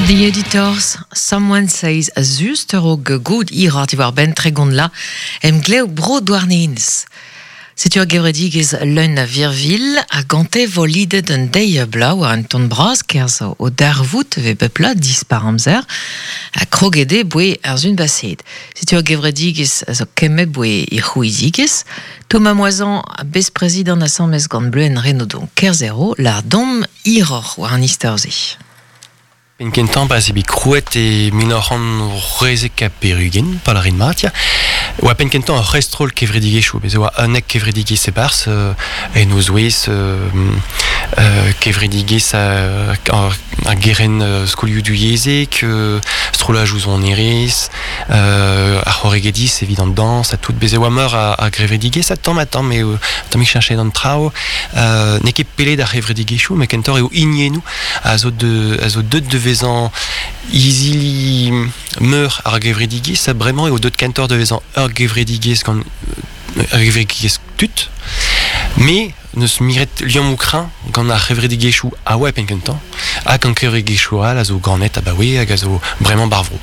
The Editors, Someone Says a just a-raok goût hiroc'h diwar-benn 30 la emglev bro Douarnenez. Setu ur gevredigezh leun a virvilh ha gante vo lidet un deiz bloaz war un ton bras kerzh o darvoud vez bep bloaz dispar amzer ha kroget eo boe ar sun baseet. Setu ur gevredigezh a zo kemmet boe he c'hrouidigezh. Thomas Moisan, besprezidant asambles gant Bleuenn Renaudon Kerzhero, lâr domp hiroc'h war an istor-se. Penn-kentañ pa 'z eo bet krouet e 1976, pa lârin mat, ya, oa penn-kentañ ur c'hestroll kevredigezhioù. Bez' e oa unnek kevredigezh e-barzh, en o zouez kevredigezh ar gerent skolioù divyezhek, strollajoù sonerezh, ar c'horregediz evit an dañs ha tout. Bez' e oa meur a gevredigezh ha tamm-ha-tamm eo tammig cheñchet an traoù. N'eo ket pellet ar c'hevredigezhioù, met kentoc'h eo hiniennoù a zo de, a zo deuet da vezañ izili meur ar gevredigezh ha bremañ eo deuet kentoc'h da vezañ ur gevredigezh gant ur gevredigezh tud. Me n'eus miret liammoù kreñv gant ar c'hevredigezhioù a oa e penn-kentañ ha gant kevredigezhioù all a zo ganet abaoe hag a zo bremañ ba'r vro.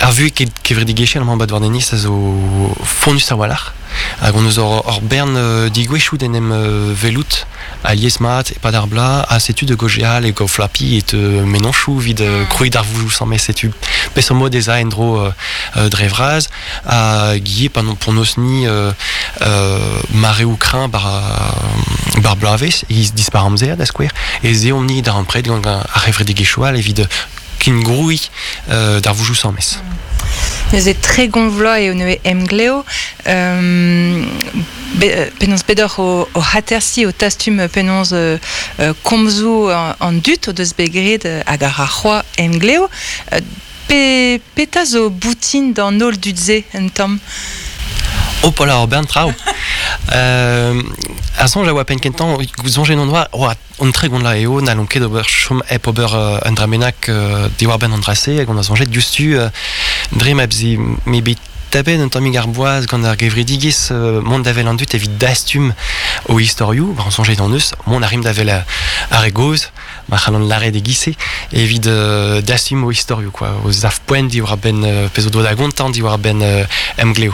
Ar vuhez kevredigezhel amañ 'ba Douarnenez a zo fonnus a-walc'h hag hon eus ur bern degouezhioù d'en em welout alies-mat e-pad ar bloaz ha setu da gaozeal e gaoflapi et mennozhioù evit krouiñ darvoudoù samet setu peseurt mod ez a en-dro dre vras hag ivez pa p'hon eus-ni mareoù kreñv bar bloavezh e dispar amzer da skouer ez eomp-ni darempred gant ar c'hevredigezhioù all evit kengrouiñ darvoudoù sames. Neuze 30 vloaz eo neuze emglev. Penaos bet oc'h oc'h atersiñ o tastum penaos komzoù an dud o deus bet graet hag a ra c'hoazh emglev. Pe petra zo boutin d'an holl dud-se un tamm? Hopola, ur bern traoù. Ar soñj a oa penn-kentañ, soñjet hon oa, oa an 30 la eo, n'hallomp ket ober chom hep ober un dra bennak diwar-benn an dra-se, hag on a soñjet diouzhtu dre ma m'eo bet tapet un tammig ar boaz gant ar gevredigezh mont da wel an dud evit dastum o istorioù, on soñjet hon eus, mont a rimp da wel ar re gozh, ma c'hallan lâret e-giz-se, evit dastum o istorioù, quoi, o sav-poent diwar-benn pezh o doa da gontañ diwar-benn emglev.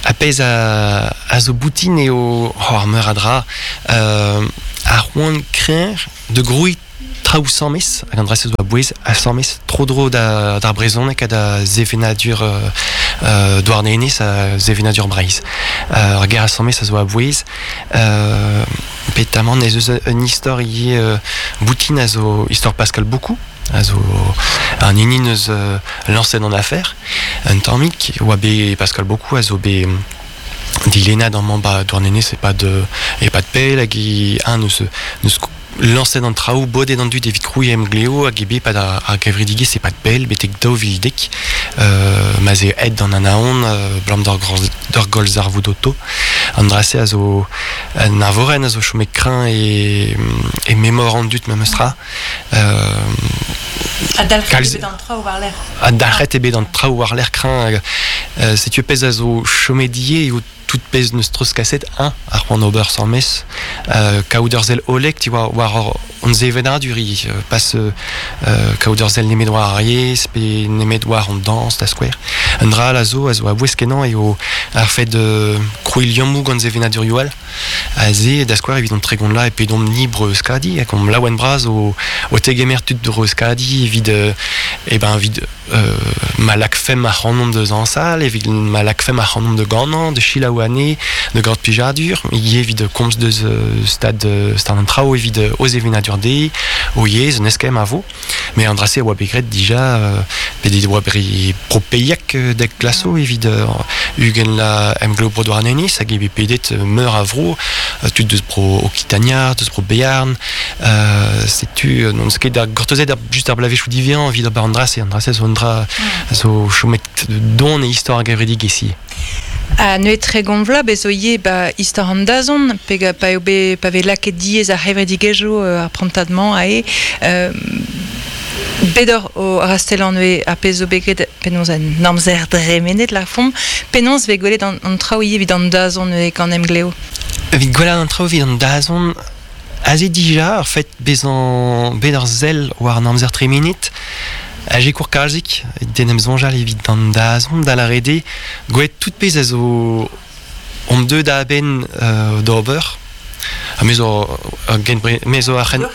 Ha pezh a zo boutin eo ar meur a dra, ar c'hoant kreñv da grouiñ traoù sames, hag an dra-se zo a-bouez, asambles tro-dro d'ar brezhoneg ha da sevenadur Douarnenez ha sevenadur Breizh. Ar ger asambles a zo a-bouez. Petamant ez eus un istor ivez boutin a zo istor Pascal Boukou, a zo an hini neus lañset an afer. Un tammig oa bet Pascal Boukou a zo bet dilennad amañ 'ba Douarnenez e-pad e-pad pell hag eñ neus neus lañset an traoù, bodet an dud evit krouiñ emglev hag eo bet e-pad ar gevredigezh e-pad pell betek 2010 ma 'z eo aet d'an Anaon abalamour d'ur gwallzarvoud oto. An dra-se a zo un eñvorenn a zo chomet kreñv e, e memor an dud memes tra. Ha dalc'het eo bet an traoù war-lerc'h. Ha dalc'het eo bet an traoù war-lerc'h kreñv. Setu pezh a zo chomet ivez eo tout pezh n'eus treuzkaset eñ ar c'hoant ober sames kaout ur sell hollek tu vois war hon sevenadur ivez pas kaout ur sell nemet war ar yezh pe nemet war an dañs da skouer un dra all a zo a zo a-bouez-kenañ eo ar fed krouiñ liammoù gant sevenadurioù all Aze, da skouer, evit an 30 la e pedomp-ni Bro-Euskadi hag omp laouen-bras o, o tegemer tud Bro-Euskadi evit, eh ben, evit ma lakfemp ac'hanomp da zañsal, evit ma lakfemp ac'hanomp da ganañ, da selaou anezhe, da gaout plijadur, ivez evit komz deus stad, stad an traoù, evit o sevenadur dezhe, o yezh, un eskemm a vo. Met an dra-se a oa bet graet dija, bet e oa bet propeiek dek glaso evit 20 la emglev bro Douarnenez hag eo bet pedet meur a vro, tud deus bro Okitania, deus bro Bearn. Setu n'on eus ket da gortozet just ar bloavezhioù diwezhañ evit ober an dra-se. An dra-se zo un dra zo chomet don e istor ar gevredigezh ivez. Ha neuze 30 vloaz bez zo ivez 'ba istor an dazont pe pa eo bet pa vez lakaet diaes ar c'hevredigezhioù ar prantad-mañ aze. Bet oc'h o rastellañ neuze ar pezh zo bet graet penaos en amzer dremenet lârfomp. Penaos 'vez gwelet an traoù ivez evit an dazont neuze gant Emglev? Evit gwelet an traoù evit an dazont, aze dija ar fait bezañ bet ur sell war an amzer tremenet. A sikour kalzik, den em soñjal evit an dazont da lâret eo, gwelet tout pezh a zo omp deuet da a-benn d'ober. Ha me zo me zo ar c'hen...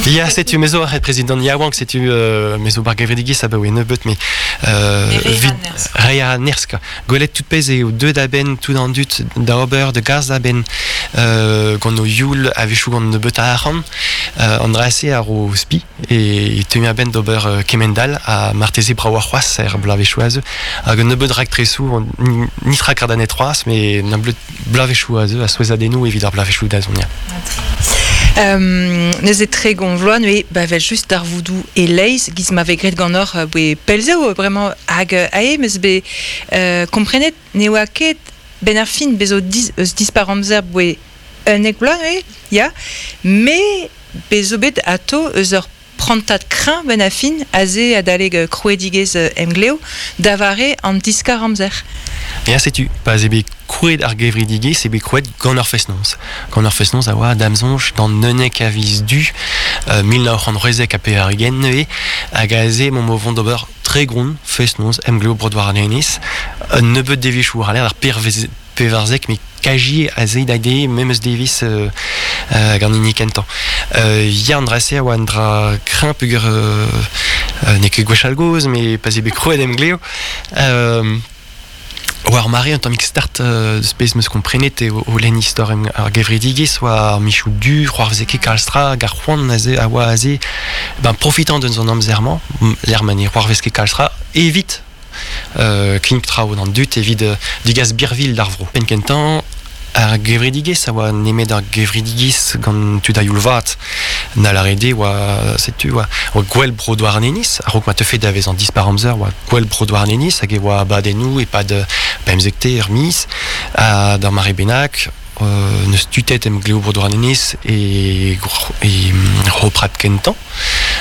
Ya, setu, me zo ar prezidant yaouank, setu me zo bar gevredigezh abaoe nebeut, me vit reiñ a nerzh, quoi. Gwelet tout pezh eo deuet a-benn tout an dud da ober, da gas a-benn gant o youl a-wechoù gant nebeut a arc'hant. An dra-se a ro spi e teuimp a-benn d'ober kement-all ha marteze bravoc'h c'hoazh er bloavezhioù a zeu. Hag un nebeud raktresoù, nitra kardanet c'hoazh, met nebeud bloavezhioù a zeu a souezhadennoù evit ar bloavezhioù da zont. Neuze 30 vloaz neuze ba vel just darvoudoù e-leizh giz ma vez graet ganeoc'h boe pell zo bremañ hag ae 'm eus bet komprenet ne oa ket 'benn ar fin bez zo eus dispar amzer boe 11 vloaz neuze ya met bez zo bet atao eus ur prantad kreñv benn ar fin aze adalek krouedigezh Emglev da vare an diskar-amzer. Ya, setu, pa 'z eo bet krouet ar gevredigezh eo bet krouet gant ar fest-noz. Gant ar fest-noz a oa da'm soñj d'an 11 a viz Du 1996 neuze, hag aze emaomp o vont d'ober 30 fest-noz Emglev Bro Douarnenez. Un nebeud devezhioù war-lerc'h ar 14 met kaji aze da de memes devezh gant hini kentañ. Ya, an dra-se a oa un dra kreñv peogwir n'eo ket gwechall gozh, met pa 'z eo bet krouet Emglev. War mare un tammig start eus pezh 'm eus komprenet eo o lenn istor ar gevredigezh oa ar michoù du, c'hoarveze ket kalz tra hag ar c'hoant aze a oa aze ben profitañ deus an amzer-mañ lec'h ma ne c'hoarvez ket kalz tra evit kinnig traoù d'an dud evit degas birvilh d'ar vro. Penn-kentañ ar gevredigezh a oa nemet ar gevredigezh gant tud a-youl vat. Na lâret eo oa setu oa gwell bro Douarnenez a-raok ma teufe da vezañ dispar amzer oa gwell bro Douarnenez hag e oa abadennoù e-pad pemzekte ur miz ha d'ar mare bennak n'eus tutet emglev bro Douarnenez e e Roprad kentañ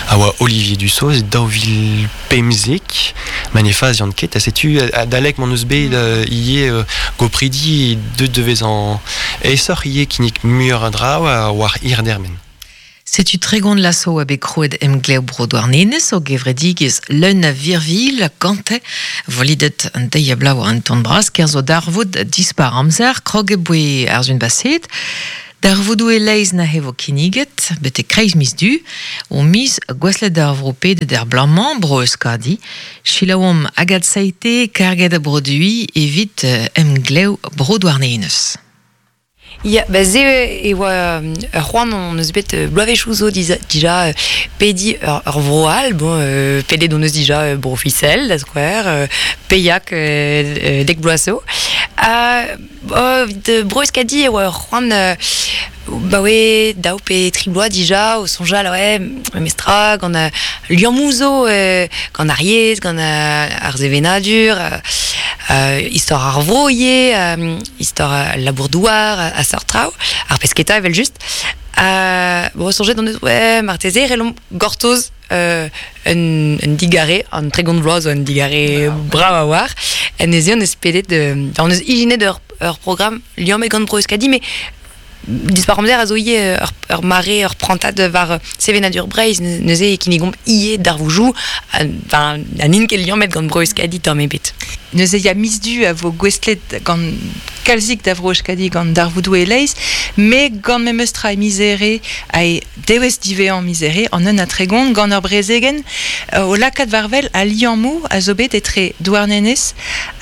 a oa Olivier Dussoz e 2015 ma ne fazian ket ha setu adalek m'hon eus bet ivez gopridi deuet da vezañ aesoc'h ivez kinnig muioc'h a draoù war hir dermen. Setu 30 lasoù a bet krouet Emglev Bro Douarnenez o gevredigezh leun a virvilh gante volidet an deiz a bloaz war an ton bras kerzh darvoud dispar amzer krog e boe ar sun baset. Darvoudoù e-leizh neuze vo kinniget betek kreiz miz Du, o miz gouestlet d'ar vro pedet er bloaz-mañ, bro Euskadi. Selaouomp Agathe Seite, karget a broduiñ evit emglev Bro Douarnenez. Ya, ba se e oa ur c'hoant hon eus bet bloavezhioù zo dija pediñ ur vro all. Bon, pedet hon eus dija Bro Fisel, da skouer, Peillac dek bloaz zo. Evit Bro Euskadi e oa ur c'hoant ba oe daou pe tri bloaz dija o soñjal ouais memestra gant liammoù zo gant ar yezh, gant ar sevenadur, istor ar vro ivez, istor al labour-douar ha seurt traoù, ar pesketa evel-just. Bon, soñjet hon eus ouais marteze e c'hellomp gortoz un digare, an 30 vloaz zo un digare brav a-walc'h. En neuze hon eus pedet, hon eus ijinet ur programm liammet gant Bro Euskadi, mais dispar amzer a zo ivez ur mare, ur prantad war sevenadur Breizh, neuze e kinnigomp ivez darvoudoù, enfin, ha n'int ket liammet gant Bro Euskadi tamm ebet. Neuze ya miz Du a vo gouestlet gant kalzik da Vro Euskadi gant darvoudoù e-leizh, met gant memes tra e miz Here ha e Devezh diwezhañ miz Here an un ha 30 gant ur brezegenn o lakaat war-wel al liammoù a zo bet etre Douarnenez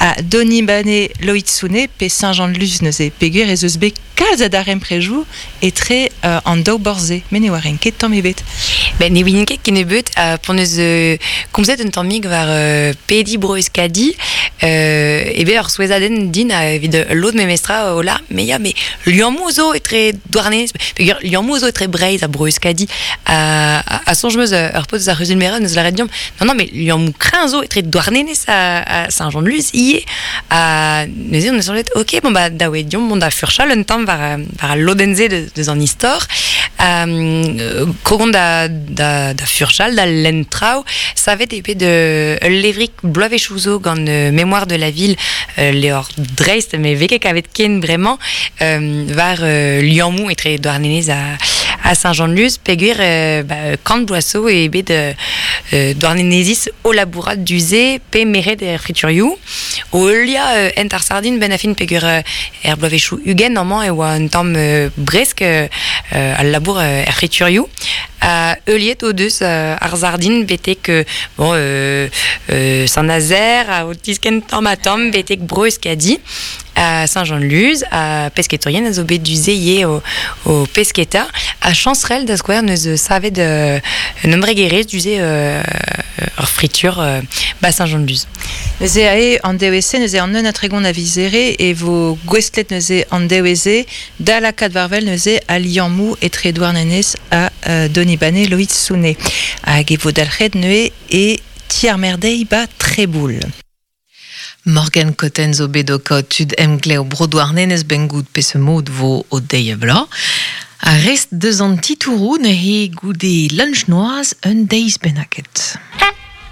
ha Donibane Loitzune pe Saint-Jean-de-Luz neuze peogwir ez eus bet kalz a darempredoù etre an daou borzh-se met ne oaren ket tamm ebet. Ben, ne ouien ket kennebeut p'hon eus komzet un tammig war pediñ bro Euskadi e bet ur souezhadenn din evit lod memestra o la mais ya mais liammoù zo etre Douarnenez peogwir liammoù zo etre Breizh ha bro Euskadi a soñj 'm eus ur paotr eus ar c'huzul-merañ neus lâret deomp non non mais liammoù kreñv zo etre Douarnenez ha Saint-Jean-de-Luz ivez ha neuze on eus soñjet ok bon bah da oe deomp mont da furchal un tamm war war al lodenn-se deus an istor krogomp da da da furchal da lenn traoù savet eo bet ul levrig bloavezhioù zo gant Mémoire de la ville levr dreist met vez ket kavet ken bremañ war liammoù etre Douarnenez ha, a Saint-Jean-de-Luz, peogwir ba, kant bloaz zo eo bet Douarnenezis o labourat du-se pe meret er friturioù, o heuliañ hent ar sardin benn ar fin peogwir er bloavezhioù 20 amañ e oa un tamm bresk al labour er friturioù. Ha heuliet o deus ar sardin betek bon, Saint-Nazaire, ha o tiskenn tamm-ha-tamm betek Bro-Euskadi. A Saint-Jean-de-Luz, ha pesketourien a zo bet du-se ivez o, o pesketa. Ha Chancerelle, da skouer, neus savet un embregerezh du-se ur fritur ba Saint-Jean-de-Luz. Neuze ae an devezh-se, neuze an un ha 30 a viz Here e vo gouestlet neuze an devezh-se da lakaat war-wel neuze al liammoù etre Douarnenez ha Donibane Loiz-Soune. Hag e vo dalc'het neuze e ti ar merdeiñ ba Treboul. Morgan Cotten zo bet o kaout tud emglev Bro Douarnenez 'benn goût peseurt mod 'vo o deiz-ha-bloaz. Ar rest deus an titouroù neuze goude lunch noazh un deiz bennaket.